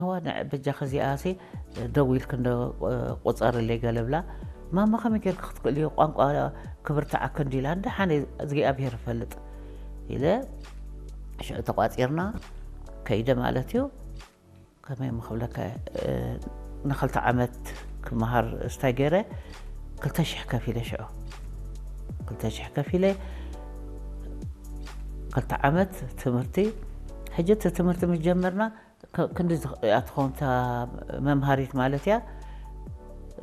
እዋ ንዕ በጃኺ እዚኣሲ ደው ኢልኪ እንዶ ቁጸርለይ ገለ ብላ። ማማ ከመይ ጌርኪ ክትክእልዮ ቋንቋ ክብርትዓኪ እንዲላ እንደ ሓነ እግዚኣብሔር ይፈልጥ ኢለ ሽዑ ተቋጺርና ከይደ ማለት እዩ። ከመይ ምኽብለካ ንክልተ ዓመት ክመሃር ስታይ ገይረ ክልተ ሽሕ ከፊለ ሽዑ ክልተ ሽሕ ከፊለ ክልተ ዓመት ትምህርቲ ሕጂ እቲ ትምህርቲ ምስ ጀመርና ክንዲ እያ ትኸውን እታ መምሃሪት ማለት እያ።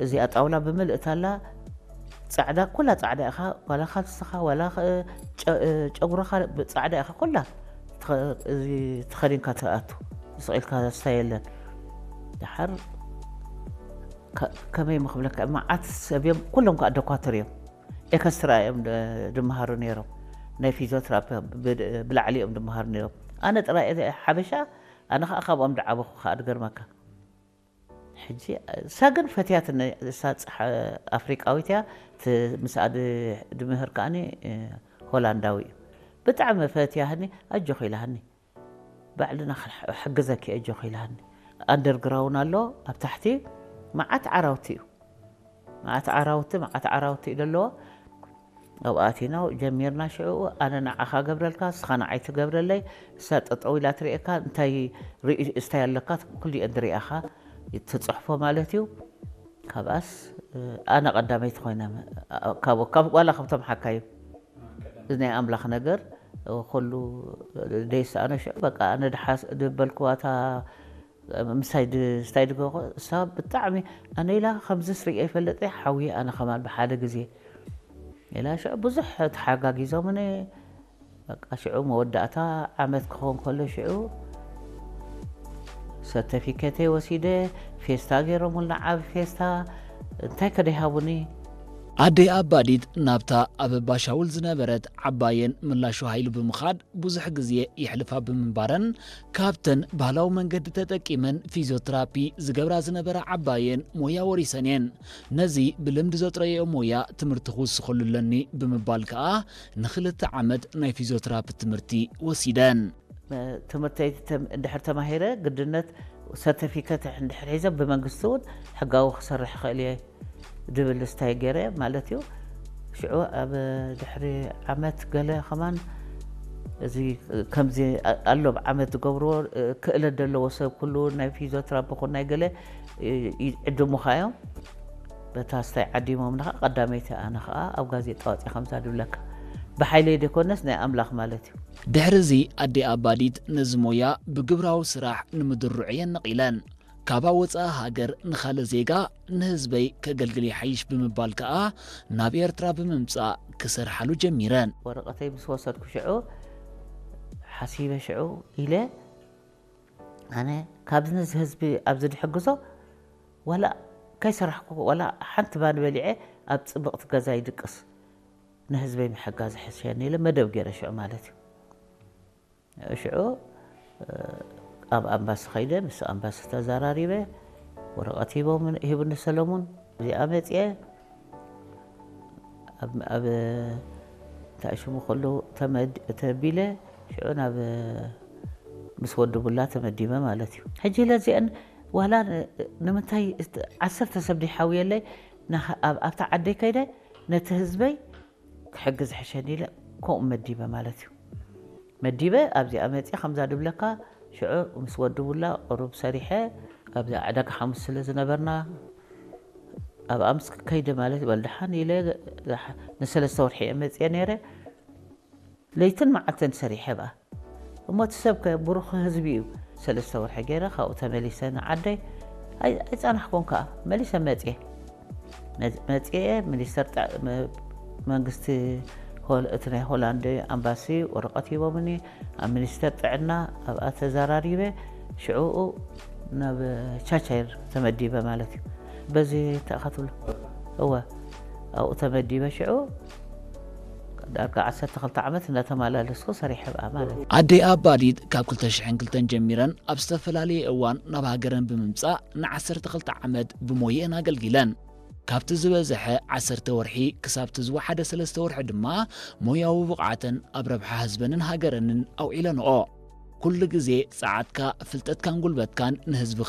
እዚኣ ጣውላ ብምልእት ኣላ ፃዕዳ ኩላ ፃዕዳ ኢኻ ዋላ ካልስኻ ዋላ ጨጉርኻ ፃዕዳ ኢኻ ኩላ ተኸዲንካ ትኣቱ ስቕ ኢልካ ስታይ የለን። ደሓር ከመይ ምኽብለካ መዓት ሰብ እዮም ኩሎም ከዓ ደኳትር እዮም። ኤከስትራ እዮም ድመሃሩ ነይሮም ናይ ፊዚዮትራፒ ብላዕሊ እዮም ድመሃሩ ነይሮም። ኣነ ጥራይ ሓበሻ ኣነ ከዓ ካብኦም ድዓበኹ ከዓ ድገርመካ። ሕጂ እሳ ግን ፈትያትኒ እሳ ኣፍሪቃዊት እያ። ምስኣ ድምህር ከዓኒ ሆላንዳዊ እዩ። ብጣዕሚ ፈትያህኒ ኣጆኺ ኢላሃኒ። ባዕልና ሕግዘኪ ኣጆኺ ኢላሃኒ። ኣንደርግራውን ኣሎ ኣብ ታሕቲ መዓት ዓራውቲ እዩ። መዓት ዓራውቲ መዓት ዓራውቲ እዩ ዘለዎ። ኣብኣቲና ጀሚርና ሽዑ ኣነ ንዓኻ ገብረልካ እስኻ ንዓይ ትገብረለይ። እሳ ጠጠው ኢላ ትርእየካ እንታይ ርእስታይ ኣለካ ኩሊኤን ድርእያኻ ትፅሕፎ ማለት እዩ። ካብኣስ ኣነ ቀዳመይቲ ኮይነ ካብ ዋላ ካብቶም ሓካዩ ናይ ኣምላኽ ነገር ኩሉ ደይሰኣኖ ሽዑ በቃ ኣነ ድሓስ ድበልክዋታ ምሳይ ስታይ ድገኮ እሳ ብጣዕሚ ኣነ ኢላ ከምዚ ስርየ ይፈለጠ ሓውየ ኣነ ከማን ብሓደ ግዜ ኢላ ሽዑ ብዙሕ ተሓጋጊዞምኒ። በቃ ሽዑ መወዳእታ ዓመት ክኸውን ከሎ ሽዑ ሰርተፊኬተይ ወሲደ ፌስታ ገይሮምልና ዓብ ፌስታ እንታይ ከደይሃቡኒ። ኣደይ ኣባዲት ናብታ ኣብ ባሻውል ዝነበረት ዓባየን ምላሹ ሃይሉ ብምኻድ ብዙሕ ግዜ የሕልፋ ብምንባረን ካብተን ባህላዊ መንገዲ ተጠቂመን ፊዚዮትራፒ ዝገብራ ዝነበራ ዓባየን ሞያ ወሪሰን እየን። ነዚ ብልምዲ ዘጥረየኦ ሞያ ትምህርቲ ክውስኸሉ ኣለኒ ብምባል ከኣ ንክልተ ዓመት ናይ ፊዚዮትራፒ ትምህርቲ ወሲደን። ትምህርተይ እንድሕር ተማሂረ ግድነት ሰርተፊከት እንድሕር ሒዘ ብመንግስቲ እውን ሕጋዊ ክሰርሕ ይኽእል እየ ድብል ስታይ ገይረ ማለት እዩ። ሽዑ ኣብ ድሕሪ ዓመት ገለ ከማን እዚ ከምዚ ኣሎ ዓመት ዝገብርዎ ክእለት ዘለዎ ሰብ ኩሉ ናይ ፊዚዮትራፒ ኩን ናይ ገለ ይዕድሙኻ እዮም። በታ ስታይ ዓዲሞምና ከዓ ቀዳመይቲ ኣነ ከዓ ኣብ ጋዜጣ ወፅየ ከምዛ ድብለካ ብሓይለይ ደይኮነስ ናይ ኣምላኽ ማለት እዩ። ድሕሪ እዚ ኣዴ ኣባዲት ነዚ ሞያ ብግብራዊ ስራሕ ንምድርዑ እየን ነቒለን። ካብ ወጻኢ ሃገር ንኻልእ ዜጋ ንህዝበይ ከገልግል ይሓይሽ ብምባል ከኣ ናብ ኤርትራ ብምምጻእ ክሰርሓሉ ጀሚረን። ወረቐተይ ምስ ወሰድኩ ሽዑ ሓሲበ ሽዑ ኢለ ኣነ ካብዚ ነዚ ህዝቢ ኣብዚ ድሕግዞ ዋላ ከይሰራሕኩ ዋላ ሓንቲ ባኒ በሊዐ ኣብ ጽብቕቲ ገዛ ይድቅስ ንህዝበይ ምሕጋዝ ሕሸኒ ኢለ መደብ ገይረ ሽዑ ማለት እዩ። ሽዑ ኣብ ኣምባሲ ኸይደ ምስ ኣምባሲ ተዘራሪበ ወረቐት ሂቦም ሂቡኒ ሰለሙን እዚኣ መፅየ ኣብ እንታይ ሽሙ ከሉ ተቢለ ሽዑ ናብ ምስ ወዲ ቡላ ተመዲበ ማለት እዩ። ሕጂ ለዚአን ዋላ ንምንታይ ዓሰርተ ሰብ ድሓውየለይ ኣብታ ዓደይ ከይደ ነቲ ህዝበይ ክሕግዝ ሕሸኒ ኢለ ከምኡ መዲበ ማለት እዩ። መዲበ ኣብዚኣ መፅየ ከምዛ ድብለካ ሽዑ ምስ ወዲ ቡላ ቁሩብ ሰሪሐ ኣብዚ ዕዳጋ ሓሙስ ስለ ዝነበርና ኣብኣ ምስ ከይደ ማለት በል ደሓን ኢለ ንሰለስተ ወርሒ እየ መፅየ ነይረ። ለይትን መዓልትን ሰሪሐ ብኣ እሞ እቲ ሰብ ከ ብሩኽ ህዝቢ እዩ። ሰለስተ ወርሒ ገይረ ካብኡ ተመሊሰ ንዓደይ ኣይፀናሕኩን ከዓ መሊሰ መፅየ መፅየ ሚኒስተር መንግስቲ እቲ ናይ ሆላንድ ኣምባሲ ወረቐት ሂቦምኒ ኣብ ሚኒስተር ጥዕና ኣብኣ ተዘራሪበ ሽዕኡ ናብ ቻቻይር ተመዲበ ማለት እዩ። በዚ ተኣኻትብሎ እወ ኣብኡ ተመዲበ ሽዑ ዳርጋ ዓሰርተ ክልተ ዓመት እናተመላለስኩ ሰሪሐ ብኣ ማለት እዩ። ኣደይ ኣባዲት ካብ ክልተ ሽሕን ክልተን ጀሚረን ኣብ ዝተፈላለየ እዋን ናብ ሃገረን ብምምጻእ ንዓሰርተ ክልተ ዓመት ብሞየአን ኣገልጊለን። ካብቲ ዝበዝሐ ዓሰርተ ወርሒ ክሳብቲ ዝወሓደ ሰለስተ ወርሒ ድማ ሞያዊ ብቕዓተን ኣብ ረብሓ ህዝበንን ሃገረንን ኣውዒለንኦ። ኩሉ ግዜ ጸዓትካ፣ ፍልጠትካን ጉልበትካን ንህዝብኻ